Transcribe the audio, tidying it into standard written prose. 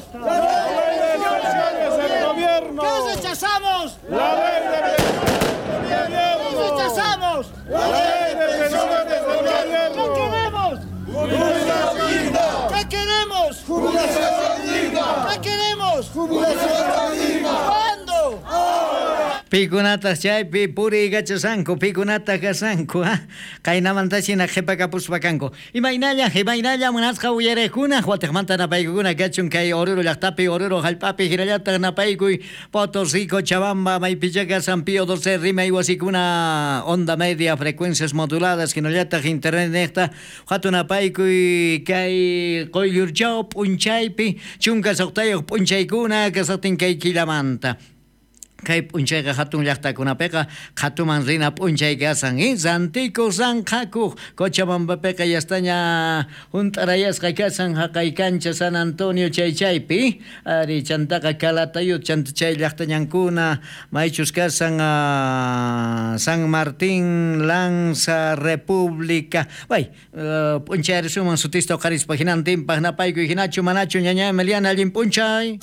queremos? La ley de pensiones del gobierno. ¿Qué rechazamos? La ley de pensiones del ¿Qué gobierno. rechazamos? La ley de pensiones del gobierno. ¿Qué queremos? Jubilación digna. ¿Qué queremos? Jubilación digna. ¿Qué queremos? Jubilación digna. ¿Cuándo? Pikunataq chaypi puriykachashanku, pikunataq kashanku, ha? Qaynamanta hina qhipakapuspa kanku. Imaynalla, imaynalla munasqa uyariqkuna, watiqmanta napaykukuna kachun kay Oruro llaqtapi, Oruro hallp'api hinallataq napaykuy Potosí, Cochabamba, maypicha kasan Pío 12 rimay wasikuna, onda media, frecuencias moduladas, hinallataq internet niqta, hatun napaykuy kay Qoyllurchaw p'unchaypi, 16 p'unchaykuna kasaqtin kay killamanta. Kay p'unchayqa hatun llaqtakunapiqa qhatuman rina p'unchay kasan, rantiku ranqhakuq Cochabambapiqa yastaña hunt'arayasqa kasan haqay kancha San Antonio chay chaypi, ari chantaqa Calatayud chanta chay llaqtañankuna maychus kasan San Martín, Lanza, República, bay p'unchay risuman sutista uqharispa hinantinpaq napaykuy hinachu manachu ñaña Emiliana allin p'unchay.